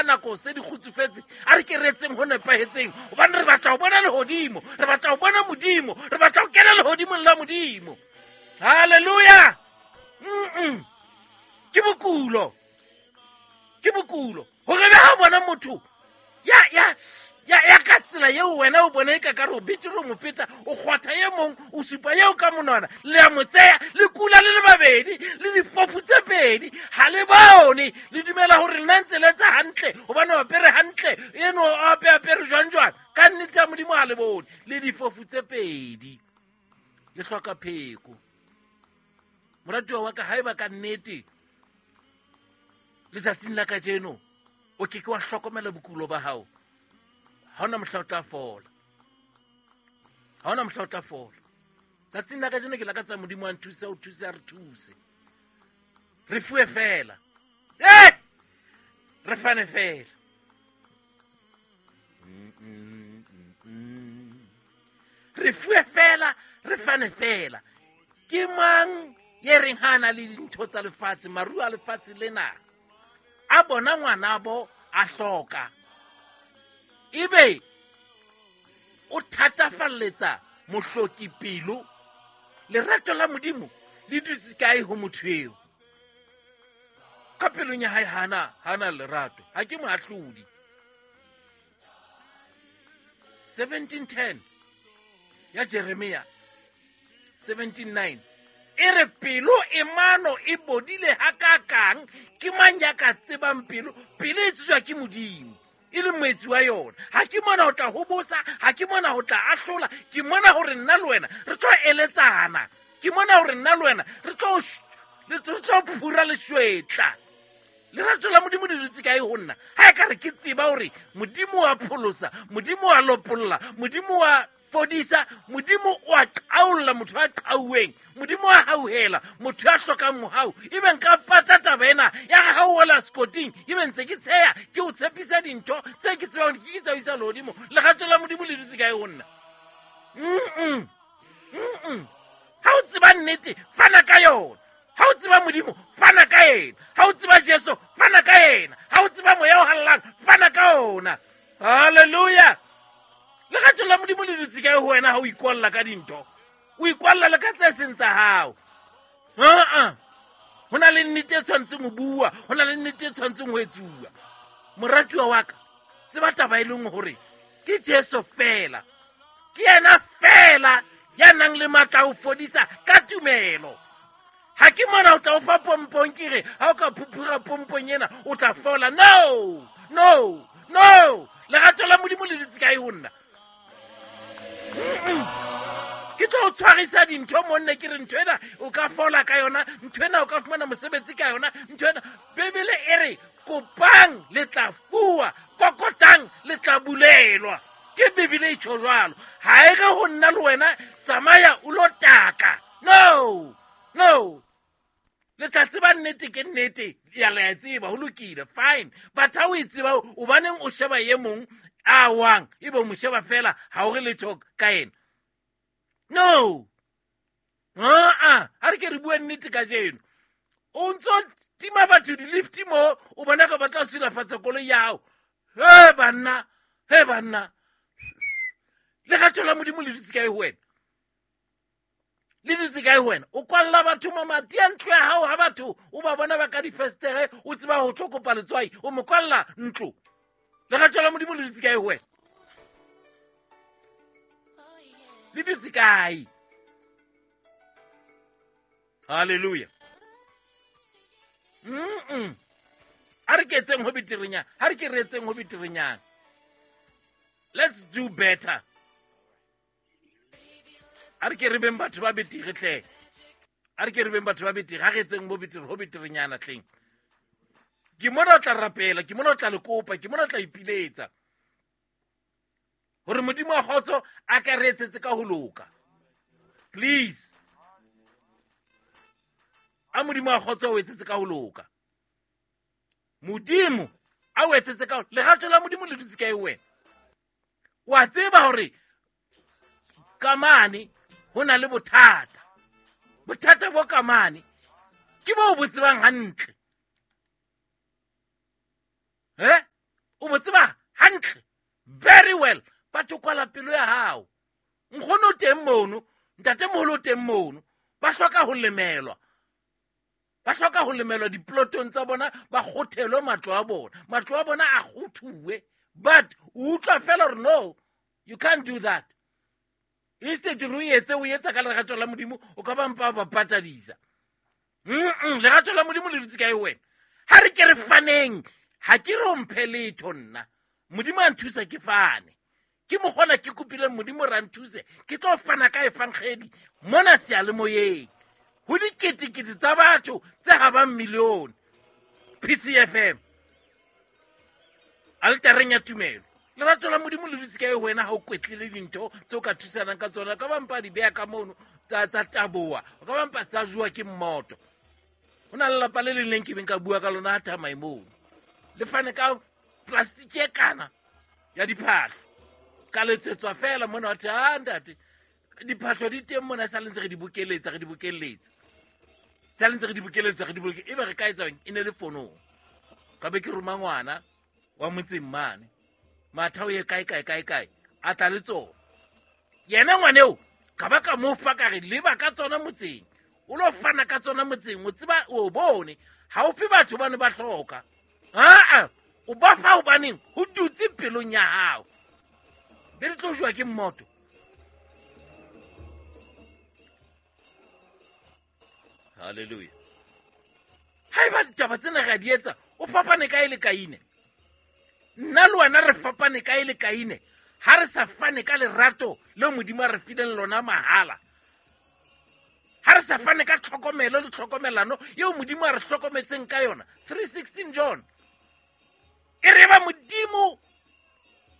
ha nako se di kgutsufetse, a re ke re etseng ho nepahetseng, hobane re batla ho bona lehodimo, re batla ho bona Modimo, re batla ho kena lehodimong la Modimo. Halleluja. Ke bokulo, ke bokulo hore be ha bona motho ya ya ya ya ka tsela eo wena o bona e ka ka re o betere o mo feta, o kgwatha e mong, o supa eo ka monwana, le a mo tseya, le kula le le babedi, le difofu tse pedi, ha le bone, le dumela hore nna ntse le etsa hantle hobane o apere hantle, eno o ape apere jwang jwang, ka nnete ya Modimo ha le bone, le difofu tse pedi, le hloka pheko. Moratuwa wa ka, haeba ka nnete letsatsing la kajeno o ke ke wa hlokomela bokulo ba hao, ha hona mohla o tla fola, ha hona mohla o tla fola. Tsatsing la kajeno ke lakatsa Modimo a nthuse, o thuse, a re thuse, re fuwe fela, re fane fela. Re fuwe fela, re fane fela. Ke mang ye reng ha a na le dintho tsa lefatshe, maruo a lefatshe lena, a bona ngwanabo a hloka, ebe o thatafalletsa mohloki pelo? Lerato la Modimo le dutse kae ho motho eo? Ka pelong ya hae hana lerato. Ha ke moahlodi. 1710 ya Jeremia 17:9 e re pelo e mano e bodile hakakang, ke mang ya ka tsebang pelo? Pelo e tsejwa ke Modimo, e le moetsi wa yona. Ha ke mona ho tla ho bosa, ha ke mona ho tla ahlola, ke mona hore nna le wena re tlo eletsana, ke mona hore nna le wena re tlo phura leshwetla. Lerato la Modimo le dutse kae ho nna? Ha e ka re ke tseba hore Modimo wa pholosa, Modimo wa lopolla, Modimo wa fodisa, Modimo wa qaolla motho a qauweng, Modimo wa hauhela motho ya hlokang mohau, ebe nka pata taba ena ya re ha o wela sekoting, ebe ntse ke tsheya, ke o tshepisa dintho tse ke tsebang ke tsa o isa lehodimo. Lerato la Modimo le dutse kae ho nna? Ha o tseba nnete, fana ka yona. Ha o tseba Modimo, fana ka yena. Ha o tseba Jesu, fana ka yena. Ha o tseba Moya o Halalelang, fana ka ona. Hallelujah. Lerato la Modimo le dutse kae ho wena ha o ikwalla ka dintho? O ikwalla le ka tse seng tsa hao. Ha-a. Ho na le nnete e tshwanetseng ho bua, ho na le nnete e tshwanetseng ho etsuwa. Moratuwa wa ka, tseba taba e leng hore ke Jesu fela, ke yena fela ya nang le matla a ho fodisa ka tumelo. Ha ke mona o tla o fa pompong, ke re ha o ka phuphura pompong ena o tla fola. No, no, no. Lerato la Modimo le dutse kae ho nna? Ke tlo o tshwarisa dintho monne, ke re ntho ena o ka fola ka yona, ntho ena o ka fumana mosebetsi ka yona, ntho ena. Bibele e re kopang le tla fuwa, kokotang le tla bulelwa. Ke Bibele e tjho jwalo. Ha e re ho nna le wena tsamaya o lo taka. No, no. Le tla tseba nnete ke nnete, ya le a tseba, ho lokile, fine. But ha o e tseba, o baneng o sheba e mong a wang, ebe o mo sheba fela, ha o re letho ka yena. No. Ha-a, ha re ke re bue nnete kajeno. O ntso tima batho di-lift mo, o bona ka batla ho silafatsa koloi ya hao. He banna, he banna. Lerato la Modimo le dutse kae ho wena? Le dutse kae ho wena? O kwalla batho mamati a ntlo ya hao, ha batho o ba bona ba ka difestere, o tseba ho tlo kopa letswai, o mo kwalla ntlo. Lerato la Modimo le dutse kae ho wena? Le dutse kae? Hallelujah. A re ke etseng ho beterenyana, ha re ke re etseng ho beterenyana. Let's do better. A re ke re beng batho ba betere tle. A re ke re beng batho ba betere, ha re etseng bo betere, ho beterenyana tleng. Ke mona o tla rapela, ke mona o tla le kopa, ke mona o tla ipiletsa hore Modimo wa kgotso a ka re etsetse ka ho loka. Please. A Modimo wa kgotso o etsetse ka ho loka. Modimo a o etsetse ka ho, lerato la Modimo le dutse kae wena? Wa tseba hore ka mane ho na le bothata. Bothata bo ka mane ke bo bo tsebang hantle. mono, ntatemoholo o teng mono. Ba hloka ho lemelwa. Ba hloka ho lemelwa diplotong tsa bona, ba kgothelwe matlo a bona. Matlo a bona a kgothuwe. But o utlwa fela hore no, you can't do that. Instead o etse o etsa ka lerato la Modimo, o ka ba mpa ba patadisa. Lerato la Modimo le dutse kae wena? Ha re ke re faneng, ha ke re o mphe letho nna. Modimo a nthusa ke fane. Ke mokgona ke kopileng Modimo ra nthuse, ke tlo fana ka efankgedi mona seyalemoyeng. Ho diketekete tsa batho tse habang milione. PCFM. Altareng ya tumelo. Lerato la Modimo le dutse kae wena ha o kwetlile dintho tse o ka thusanang ka tsona? Ka bampa di beha ka mono tsa taboa, o ka bampa tsa jowa ke mmoto. Ho na le lelapa le leng le nkebeng ka bua ka lona ha thamae mono. Le fane ka plastic e kana ya diphahlo. Ka letsetswa fela mona wa thwe, ah, ntate, diphahlo di teng mona, sa le ntse re di bokeletsa, re di bokeletsa. Sa le ntse re di bokeletsa, re di bokeletsa. Ebe re ka etsa eng? E ne le fonong. Ka be ke roma ngwana wa motseng mane. Matha o ye kae, kae, kae, kae. A tla le tsona. Yena ngwaneo, ka ba ka mo fa ka re leba ka tsona motseng. O lo fana ka tsona motseng, o tseba o bone. Ha o fe batho bane ba hloka. Aa, o ba fa hobaneng ho dutse pelong ya hao. Be re tlo jowa ke mmoto. Hallelujah. Haeba ditaba tsena re a di etsa, o fapane kae le Kaine? Nna le wena re fapane kae le Kaine? Ha re sa fane ka lerato leo Modimo a re fileng lona mahala. Ha re sa fane ka tlhokomelo le tlhokomelano eo Modimo a re hlokometseng ka yona. 3:16 John. E re ba Modimo,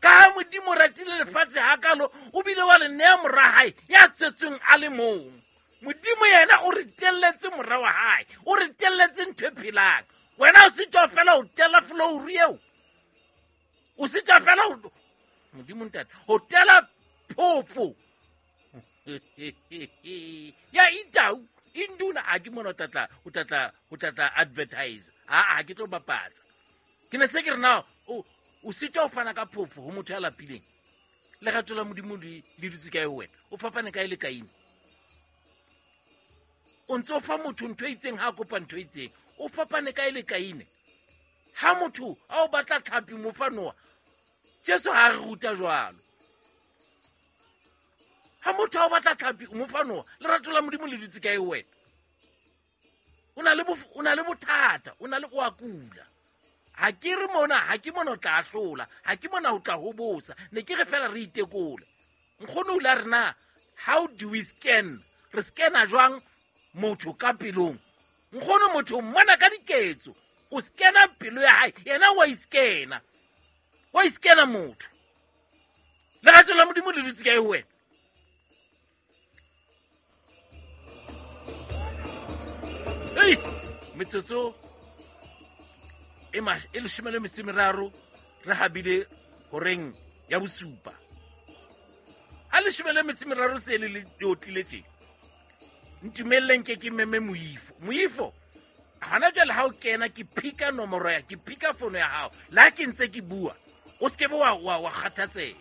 ka ha Modimo ratile lefatshe hakalo, o bile wa le nea mora hae ya tswetsweng a le mong. Modimo yena o re telletse mora wa hae, o re telletse ntho e phelang. Wena o sitwa fela ho tella flouru eo. O sitwa fela ho, Modimo ntate, ho tella phofo. Ya itau, induna, ha ke mona o tlatla, o tlatla, o tlatla advertise. Ha, ha ke tlo bapatsa. Ke ne se ke re na, o sitwa ho fana ka phofo ho motho ya lapileng. Lerato la Modimo le dutse kae ho wena? O fapane kae le Kaine? O ntso fa motho ntho e itseng ha a kopa ntho e itseng. O fapane kae le Kaine? Ha motho a o batla tlhapi mo fa noa, Jesu ha re ruta jwalo. Ha motho a o batla tlhapi o mo fa noa, lerato la Modimo le dutse kae ho wena? O na le o na le bothata, o na le o a kula. Ha ke re mona, ha ke mona o tla ahlola, ha ke mona o tla hobosa. Ne ke re fela re itekole. Nkgono o la re na, how do we scan? Re scanna jwang motho ka pelong? Nkgono motho o mmona ka diketso. O scanna pelo ya hae, yena wa iscanna. Wa iscanna motho. Lerato la Modimo le dutse kae ho wena? Ei, metsotso e e leshome le metso e meraro re habile horeng ya bosupa. Ha leshome le metso e meraro se le le otlile tje. Ntumelleng ke ke meme Moifo. Moifo, hona jwale ha o kena ke phika nomoro ya, ke phika fono ya hao. Le ha ke ntse ke bua, o se ke be wa kgathatseha.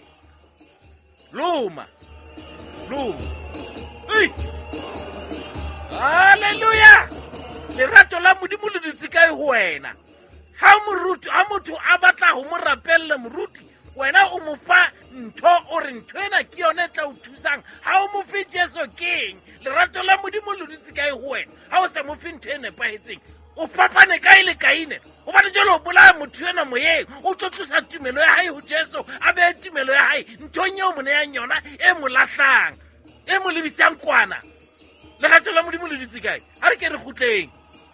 Loma. Loma. Ei! Hallelujah! Lerato la Modimo le dutse kae ho wena? Ha moruti, ha motho a batla ho mo rapella moruti, wena o mo fa ntho, o re ntho ena ke yona e tla o thusang. Ha o mo fe Jesu keng? Lerato la Modimo le dutse kae ho wena? Ha o sa mo fe ntho e nepahetseng, o fapane kae le Kaine? Hobane jwale o bolaya motho enwa moyeng, o tlo tlosa tumelo ya hae ho Jesu, a behe tumelo ya hae nthong eo mo neyang yona, e mo lahlang, e mo lebisang kwana. Lerato la Modimo le dutse kae? Ha re ke re kgutleng,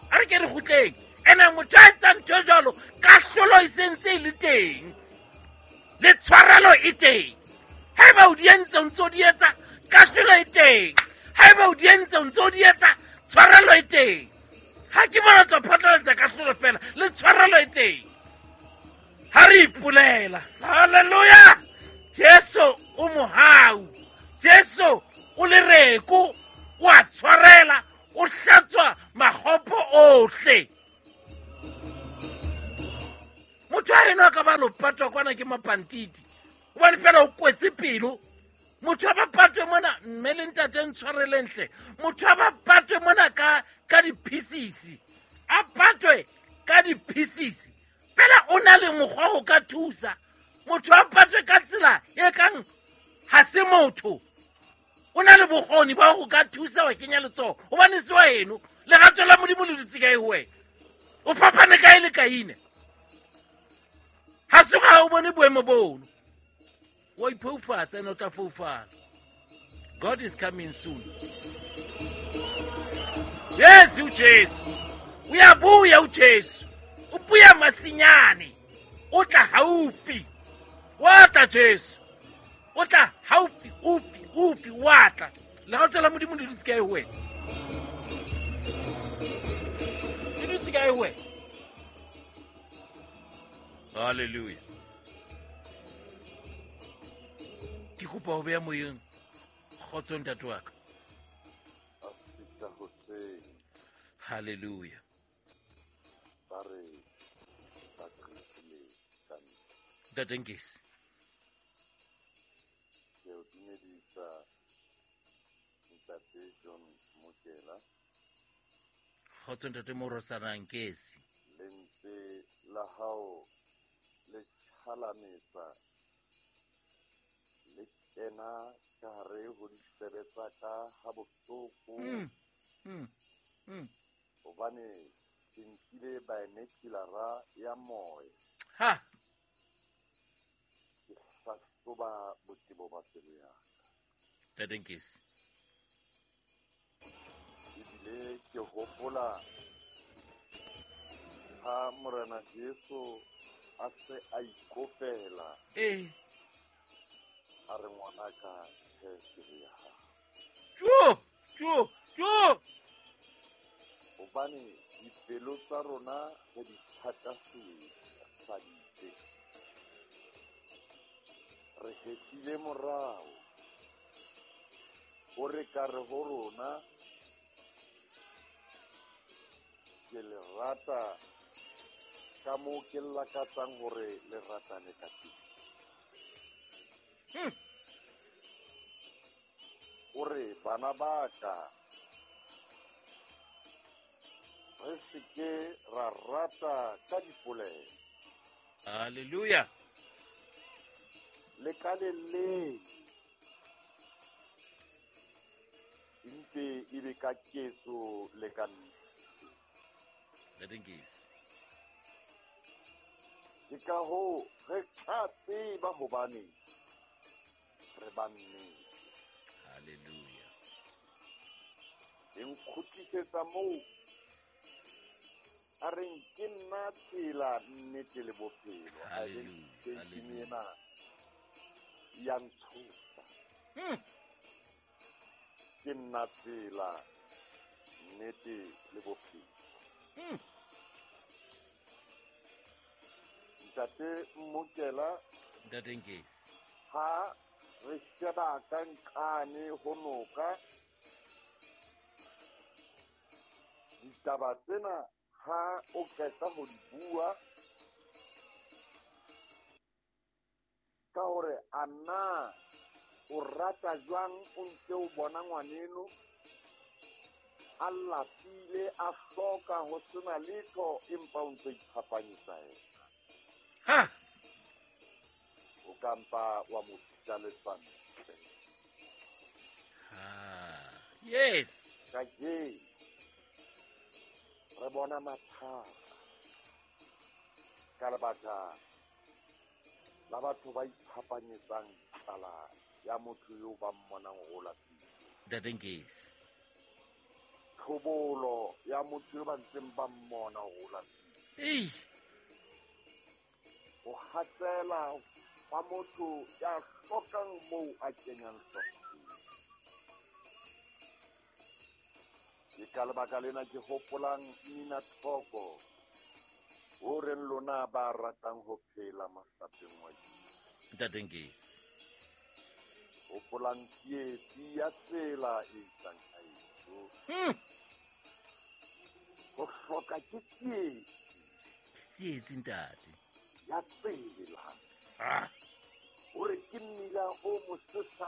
ha re ke re kgutleng. Ene motho a etsang ntho e jwalo, kahlolo e sentse e le teng, le tshwarelo e teng. Haeba o di entse, o ntso di etsa, kahlolo e teng. Haeba o di entse, o ntso di etsa, tshwarelo e teng. Ha ke bona tlo phatlalatsa kahlolo fela, le tshwarelo e teng. Ha re ipolela, hallelujah, Jesu o mohau, Jesu o lereko, o a tshwarela, o hlatswa makgopo ohle. Motho a eno a ka ba lo patwa kwana ke mapantiti, hobane fela o kwetse pelo. Motho a ba patwe mona, mme le ntate ntshwareleng hle. Motho a ba patwe mona ka di-pieces. A patwe ka di-pieces. Fela o na le mokgwa ho ka thusa. Motho a patwe ka tsela e kang ha se motho. O na le bokgoni ba ho ka thusa wa kenya letsoho. Hobane se wa eno. Lerato la Modimo le dutse kae ho wena? O fapane kae le Kaine? Ha se ga o bone boemo bono. Wa iphoufatsa ene o tla foufala. God is coming soon. Yes, uJesu. Uyabuya uJesu. Ubuya masinyane. O tla haufi. Wa tla Jesu. O tla haufi, ufi, ufi, wa tla. Lerato la Modimo le dutse kae ho wena? Le dutse kae ho wena? Hallelujah. Ke kopa ho beha moyeng. Kgotso ntate wa ka. Hallelujah. Ntate Nkesi. Ke o dumedisa ntate John Mokela. Kgotso ntate Morosana Nkesi. Lentswe la hao le tjhalametsa le kena ka hare ho ditsebe tsa ka ha bohloko. Hobane ke nkile binocular ya moya. Ha. Ke hlahloba botebo ba pelo ya ka. Ntate Nkesi. Ebile ke hopola ha Morena Jesu a se a ikopela. A re ngwanaka tjhe pelo ya hao. Jo, jo, jo. Hobane dipelo tsa rona re di thatafaditse. Re hetlile morao. Ho re ka re ho rona ke le rata ka moo ke lakatsang hore le ratane ka teng. O re bana ba ka re se ke ra rata ka dipolelo. Hallelujah. Le ka leleme empe e be ka ketso le ka nnete. Ntate Nkesi. Ke ka hoo re tla tseba hobane re ba nnete. Hallelujah. E nkgutlisetsa moo a reng ke nna tsela, nnete le bophelo. Hallelujah. Ena ya ntshosa. Ke nna tsela, nnete le bophelo. Ntate Mokela. Ntate Nkesi. Ha re sheba ka nqane ho noka, ditaba tsena ha o qeta ho di bua ka hore a na o rata jwang o ntse o bona ngwaneno a lapile a hloka ho sena letho empa o ntse iphapanyetsa yena. Ha. O ka mpa wa mo fihla letswantle. Ha. Yes. Kajeno re bona mathata ka lebaka la batho ba iphapanyetsang tlala ya motho eo ba mmonang ho lapile. Ntate Nkesi. Tlhobolo ya motho eo ba ntseng ba mmona ho lapile. Ei. Ho hatsela wa motho ya hlokang moo a kenyang hlooho. Ke ka lebaka lena ke hopolang nina tlhoko ho reng lona ba ratang ho phela mohlapeng wa Jesu. Ntate Nkesi. Hopolang tsietsi ya tsela e isang haeso. Ho hloka ke tsietsi. Ke tsietsi ntate. Ya tsela. Ah. Hore ke mmila o mosesane.